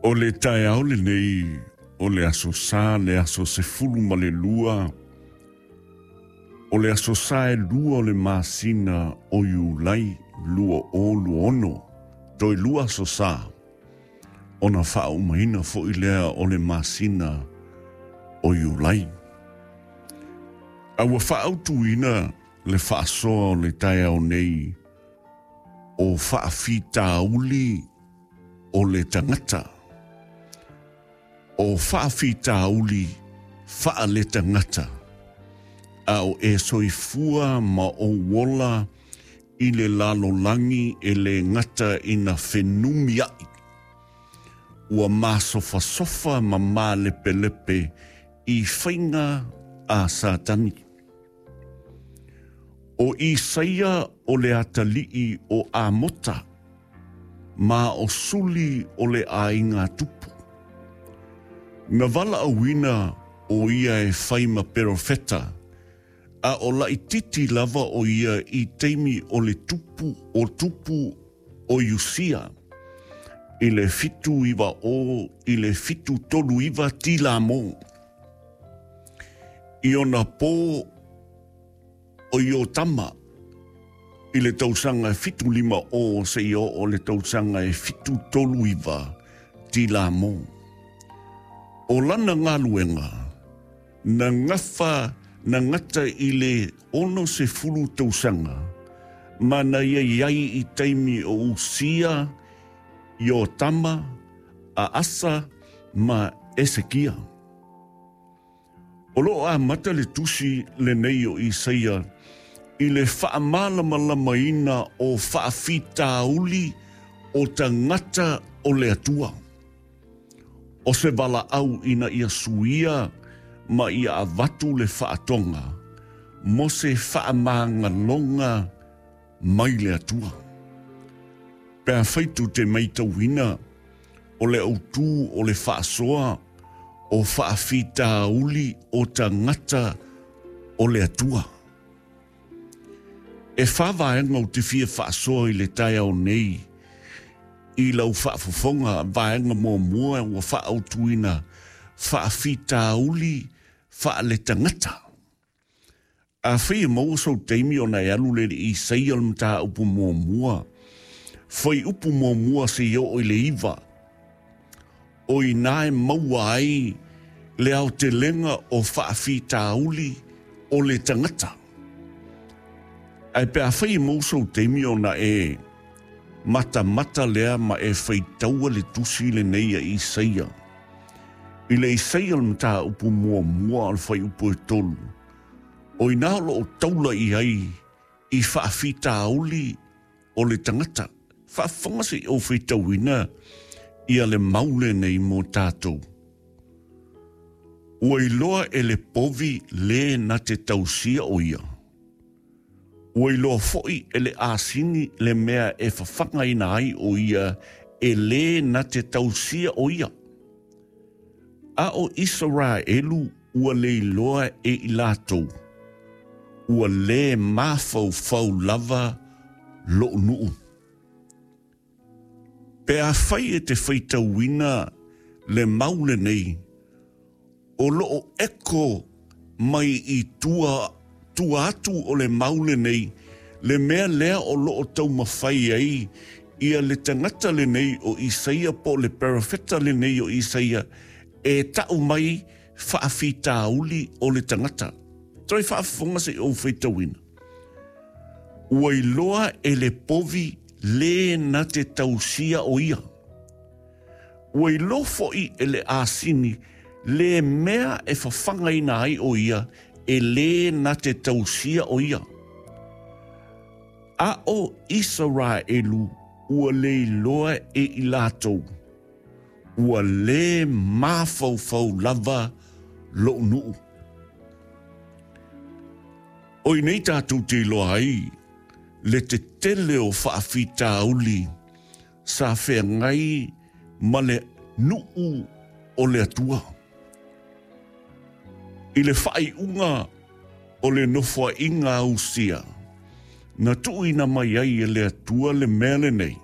O le taeao lenei o le Aso Sa le aso 12 o le Aso Sa e 2 o le masina o Iulai 2026, toe 2 Aso Sa ona faaumaina foi lea o le masina o Iulai. A ua faaautuina le faasoa o le taeao nei o faafitauli o le tagata, o faafitauli faaletagata, a o e soifua ma ou ola i le lalolagi e le gata ina fenumiai, ua masofasofa ma malepelepe i faiga a Satani. O Isaia o le atalii o Amota, ma o suli o le aiga tupu. Na valaauina o ia e fai ma perofeta, a o laititi lava o ia i taimi o le tupu o tupu o Iusia, i le 790 i le 739 Tilamo. I ona pō o Iotama i le tausaga e 750 seia oo le tausaga e 739 Tilamo. O lana galuega na gafa na gata i le 60 tausaga ma na ia i ai i taimi o Usia, Iotama, Aasa ma Esekia. O lo o amata le tusi lenei o Isaia i le faamalamalamaina o faafitauli o tagata o le Atua. O se valaau ina ia suia ma ia avatu le faatoga mo se faamagaloga mai le Atua. Pe afai tou te maitauina o le autū o le faasoa o faafitauli o tagata o le Atua. E fa vaega ou te fia faasoa i le taeao nei i lau faafofoga. Vaega muamua ua faaautuina faafitauli faaletagata. Afai e maua sou taimi ona e alu lea i le Isaia o le mataupu muamua, fuaiupu muamua seia oo i le 9, o i ina e maua ai le aotelega o faafitauli o le tagata. Ae pe afai e maua sou taimi ona e matamata lea ma e faitaua le tusi lenei a Isaia. I le Isaia o le mataupu muamua o le fuaiupu e 3, o ina o lo o taula i ai i faafitauli o le tagata. Faafofoga se i ou faitauina ia le mau lenei mo tatou. Ua iloa e le povi le na te tausia o ia. Ua iloa foi e le asini le mea e fafagaina ai o ia e le na te tausia o ia. A o Isaraelu ua le iloa e i latou, ua le mafaufau lava lo'u nuu. Pe afai e te faitauina le mau lenei, o lo o eko mai i tua, tua atu o le mau lenei, le mea lea o lo o taumafai ai ia le tagata lenei o Isaia po o le perofeta lenei o Isaia e ta'u mai faafitauli o le tagata. Toe faafofoga se i ou faitauina. Ua iloa e le povi le na te tausia o ia. Ua iloa foi e le asini le mea e fafagaina ai o ia e le na te tausia o ia. A o Isaraelu ua le iloa e i latou, ua le mafaufau lava lo'u nuu. O i nei tatou te iloa ai le tetele o faafitauli sa feagai ma le nuu o le Atua. I le faaiuga o le nofoaiga a Usia, na tuuina mai ai e le Atua le mea lenei.